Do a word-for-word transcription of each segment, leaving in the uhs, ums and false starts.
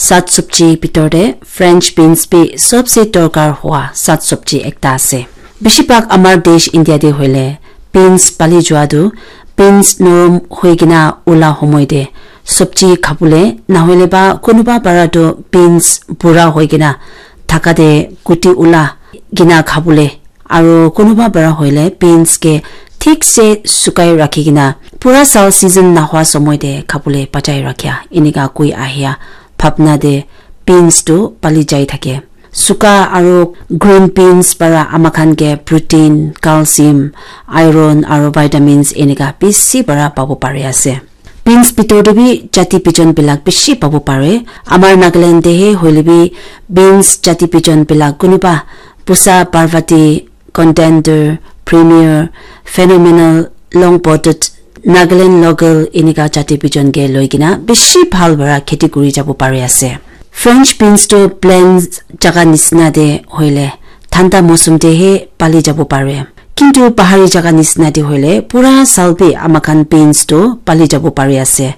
Sat sabji bitor te French beans bi sobse dorkar hua sat sabji ekta ase. Bishi bhag amar desh India te hoile beans pali jua tu beans norom hoi kena ula homoi te sabji khabole, nahoile ba kunuba para tu beans bura hoi kena thaka te guti ula kena khabole, aro kunuba para hoile beans ke thik se sukai rakhi kena pura sal season nahwa somoi te khabole bachai rakhia, enika koi ahia bhabna te beans tu pali jai thake. Suka aro green beans para amakhan ke protein, calcium, iron aro vitamins enika bishi para pabo pari ase. Beans bitor te bi jati bijon bilak bishi pabo pare. Amar Nagaland te he hoile bi beans jati bijon bilak kunuba Pusa Parvati, Contender, Premier, Phenomenal, Long Potted, Nagaland Local enika jati bijon ke loi kena bishi bhal para kheti kuri jabo pari ase. French beans tu plain jaga nisna te hoile thanda mosum te he pali jabo pare. Kintu pahari jaga nisna te hoile pura sal bi amakhan beans tu pali jabo pari ase.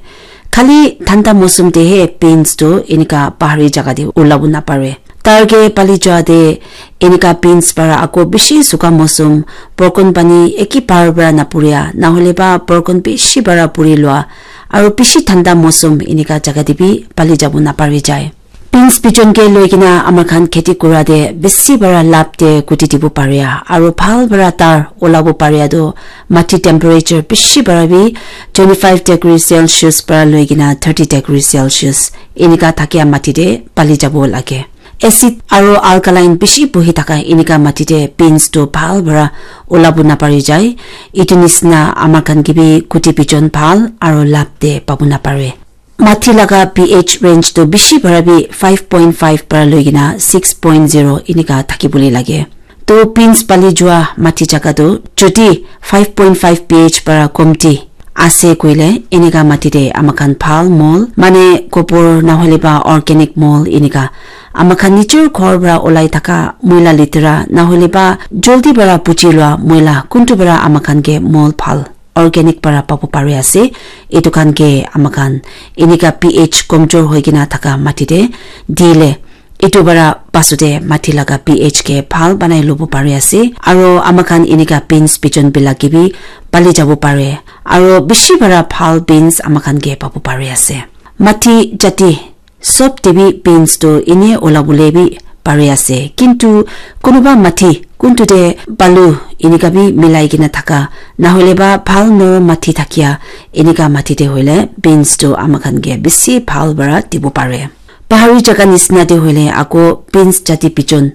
Khali thanda mosum te he beans tu enika pahari jaga te ulabo napare. Tar ke pali jua te enika beans para ako bishi suka mosum, borkon pani eki par para napuria, nahole ba borkon bishi para puri lua, aro bishi thanda mosum enika jaga te bi pali jabo napari jai. Beans bijon ke loi kena amakhan kheti kura te bishi para lab te kuti dibo paria, aro bhal para tar ulabo paria tu mati temperature bishi para bi twenty five degree Celsius para loi kena thirty degree Celsius enika thakia mati te pali jabo lage. Acid aro alkaline bishi bohi thaka enika mati te beans tu bhal para ulabo napari jai. Etu nisna amakhan ke bi kuti bijon bhal aro lab te pabo napare. Mati laga pH range tu bishi para bi five point five para loi kena six point zero enika thaki bole lage. To beans pali jua mati jaga tu jodi five point five pH para komti ase koile enika mati te amakhan bhal mol mane gobor nahole ba organic mol enika amakhan nijor ghor para ulai thaka moila letera nahole ba joldi para puchi lua moila kuntu para amakhan ke mol bhal organic para pabo pari ase. Etu khan ke amakhan enika pH komjor hoi kena thaka mati te dile etu para pasute mati laga pH ke bhal banai lobo pari ase. Aro amakhan enika beans bijon bilak ke bi pali jabo pare. Aro bishi para bhal beans amakhan ke pabo pari ase. Mati jati sob te bi beans tu ene ulabole bi pari ase. Kintu kunuba mati kuntu te balu enika bi milai kena thaka nahole ba bhal norom mati thakia enika mati te hoile beans tu amakhan ke bishi bhal para dibo pare. Pahari jaga nisna te hoile ako beans jati bijon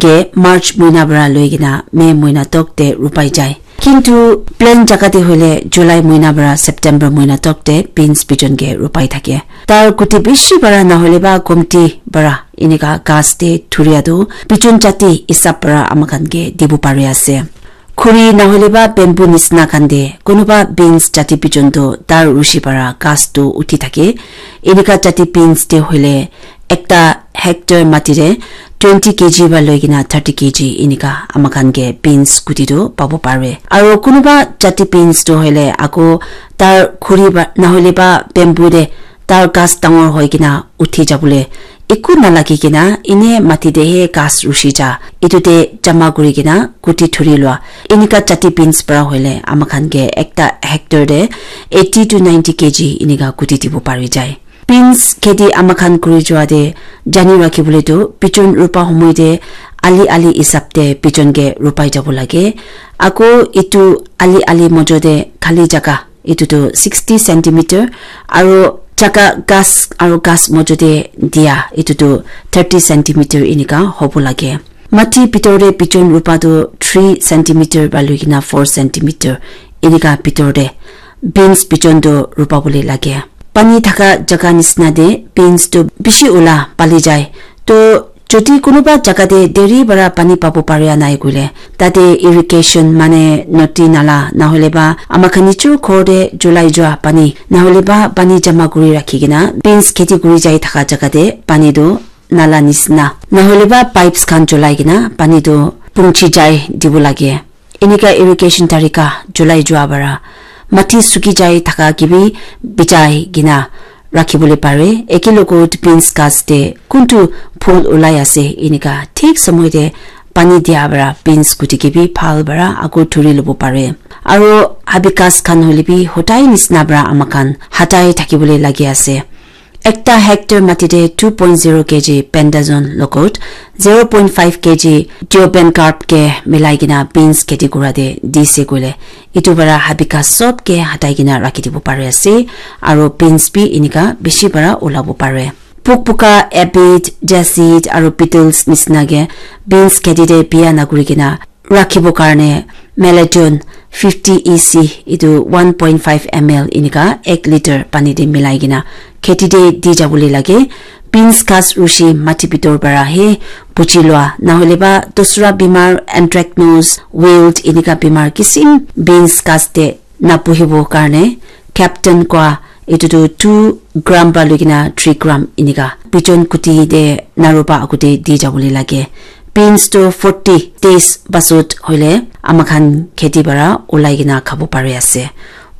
ke March moina para loi kena May moina tok te rupai jai. Kintu plain jaga te hoile July moina para September moina tok te beans bijon ke rupai thake. Tar kuti bishi para nahole ba komti para enika ghas te thuria tu bijon jati hisab para amakhan ke dibo pari ase. Khuri nahole ba bamboo nisna khan te kunuba beans jati bijon tu tar rushi para ghas tu uthi thake. Enika jati beans te hoile ekta hectare mati te twenty kg para loi kena thirty kg enika amakhan ke beans kuti tu pabo pare. Aro kunuba jati beans tu hoile ako tar khuri ba nahole ba bamboo te tar ghas dangor hoi kena uthi jabole eku nalagi kena ene mati te he ghas rushi ja etu te jama kuri kena kuti thuri lua. Enika jati beans para hoile amakhan ke ekta hectare te eighty to ninety kg enika kuti dibo pari jai. Beans kheti amakhan kuri jua te jani rakhi bole tu bijon rupa homoi te ali ali hisab te bijon ke rupai jabo lage. Ako etu ali ali mojo te khali jaga etu tu sixty centimeter aro jaga ghas aro ghas mojo te dia etu tu thirty centimeter enika hobo lage. Mati bitor te bijon rupa tu three centimeter para loi kena four centimeter enika bitor te beans bijon tu rupa bole lage. Pani thaka jaga nisna te beans tu bishi ula pali jai. To jodi kunuba jaga te deri para pani pabo paria nai koile tate irrigation mane nodi nala nahole ba amakhan nijor ghor te julai jua pani nahole ba pani jama kuri rakhi kena beans kheti kuri jai thaka jaga te pani tu nala nisna nahole ba pipes khan cholai kena pani tu pungchi jai dibo lage. Enika irrigation tarika cholai jua para mati suki jai thaka ke bi bijai kena rakhi bole pare. Eke logot beans ghas te kuntu phul ulai ase, enika thik samoi te pani dia para beans kuti ke bi bhal para ako thuri lobo pare. Aro habikas khan hoile bi hodai nisna para ama khan hatai thaki bole lagi ase. Ekta hectare mati te two point zero K G pentazone logot zero point five K G dioben carb ke milai kena beans kheti kura te dise koile, etu para habikas sob ke hatai kena rakhi dibo pari ase, aro beans bi enika bishi para ulabo pare. Puk puka, aphid, jasid aro beetles nisina ke beans kheti te biya nakuri kena rakhibo karne Maladon fifty E C, etu one point five M L enika ek liter pani te milai kena kheti te di jabole lage. Beans ghas rushi mati bitor para he buchi lua, nahole ba dusra bimar, anthracnose, wilt enika bimar kisim beans ghas te napuhibo karne Captain koa etu tu two gram para loi kena three gram enika bijon kuti te naru pa agute di jabole lage. Beans tu forty days pasot hoile ama khan kheti para ulai kena khabo pari ase.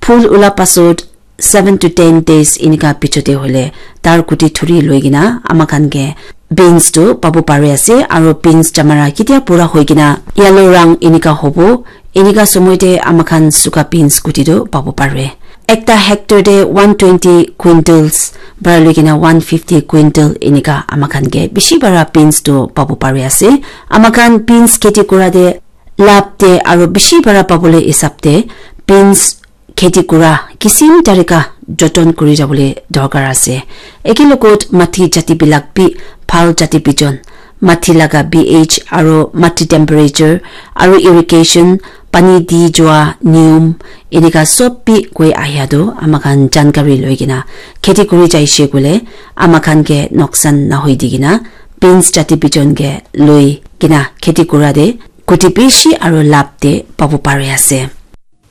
Phul ula pasot seven to ten days enika pichote hoile tar kuti thuri loi kena ama khan ke beans tu pabo pari ase, aro beans jamara ketia pura hoi kena yellow rang enika hobo, enika somoi te ama khan suka beans kuti tu pabo pare. Ekta hectare te one twenty quintals para loi kena one fifty quintal enika ama khan ke bishi para beans tu pabo pari ase. Ama khan beans kheti kura te lab te aro bishi para pabole hisab te beans kheti kura kisim tarika joton kuri jabole dorkar ase. Eke logot mati jati bilak bi bhal jati bijon, mati laga pH aro mati temperature aro irrigation, pani di jua niyom enika sob bi koi ahia tu ama khan jankari loi kena kheti kuri jaise koile ama khan ke noksan nahoi di kena beans jati bijon ke loi kena kheti kura te kuti bishi aro lab te pabo pari ase.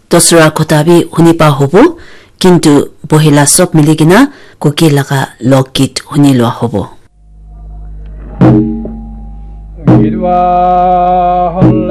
Dosra kotha bi huni pa hobo, kintu bohila sob mili kena Kuki laga lokgit huni lua hobo. Gidwa hon